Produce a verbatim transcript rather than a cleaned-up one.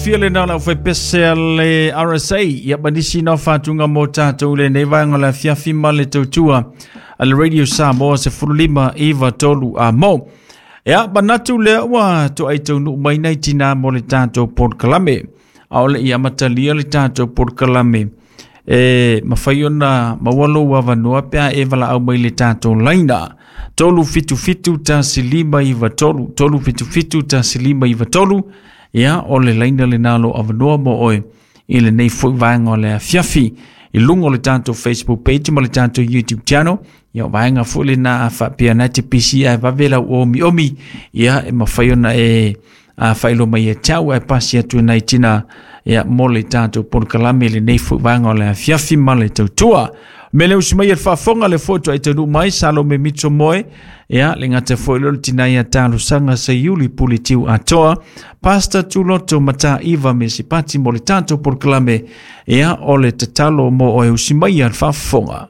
Fia le nā lau whaipese a le R S A, ia manisi nā whātunga mō tātou le nei vaenga le afiafi ma le tautua a le Radio Samoa se fululima iwa tolu a mō. Ia, manatu lea ua to ai taunu mai nei tina mo le tātou podkalame. A ole ia matalia le tātou podkalame. E mawhai ona mawalo wawanoa pea e wala au mai le tātou laina. Tolu fitu fitu tasi lima iwa tolu. Tolu fitu fitu tasi lima iwa tolu. Ia, o le laina le nalo awanoa mo oe i le nei fui vaenga o le afiafi. I lunga o le tātou Facebook page ma le tātou YouTube channel. Ia, o vaenga fui le nā whapea nā te P C ai vavela o omi omi. Ia, e mawhai ona e a whailo mai e tau e pasi atu nei tina. Ia, mo le tātou podkalame le nei fui vaenga o le afiafi ma le tautua. Me le usi mai e whaafonga le foto ai tanu mai Salome Mitso Moe. Ia, le ngata foi lolo tina ia tālusanga se yuli puli tiu atoa. Pasta tuloto mata iwa me si pati mo le tātou podkalame. Ia, o le tatalo mo oe usi mai e whaafonga.